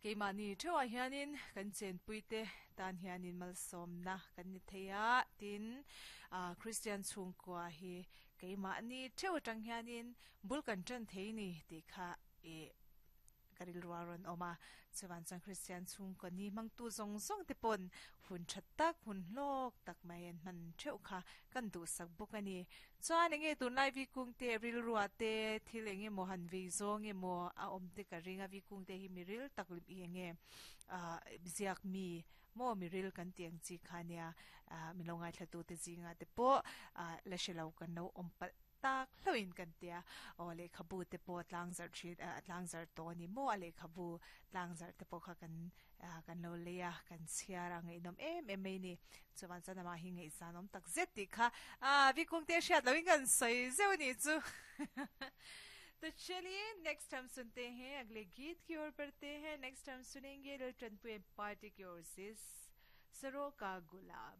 Keimahni theuhah hianin kan chenpuite tan hianin malsawmna kan ni thei a, tin, Kristian chhungkua hi keimahni theuh atang hianin bul kan tan thei ni tih kha i Ka rilru a rawn awm a, chuvan chuan Kristian chhungkaw ni hmangtu zawng zawng te pawn hun tha tak, hun hlawk tak mai an hman theuh kha kan duhsak bawk a ni. Chuan enge tunlai Vikungte rilrua te thil eng emaw han vei zawng emaw a awm te ka ring a, Vikungte hi mi ril tak i enge ah ziak mi maw mi ril kan tih ang chi kha nia, ah min lo ngaithlatute zingah te pawh ah la hre lo kan lo awm palh. Tak hlauhin kan tia, aw lehkhabu te pawh tlangzarh thin a tlangzarh tawh a ni maw a lehkhabu tlangzarh te pawh kha kan kan lo lei a kan chhiar a ngaihnawm em em mai a ni. Chuan chuan amah hi ngaihzan awm tak zet tih kha ah Vikungte hriat lohin kan sawi zeuh a nih chu. To chaliye next hum sunte hain agle geet ki or badhte hain next hum sunenge Laltanpuia party ki or se Saro ka gulab.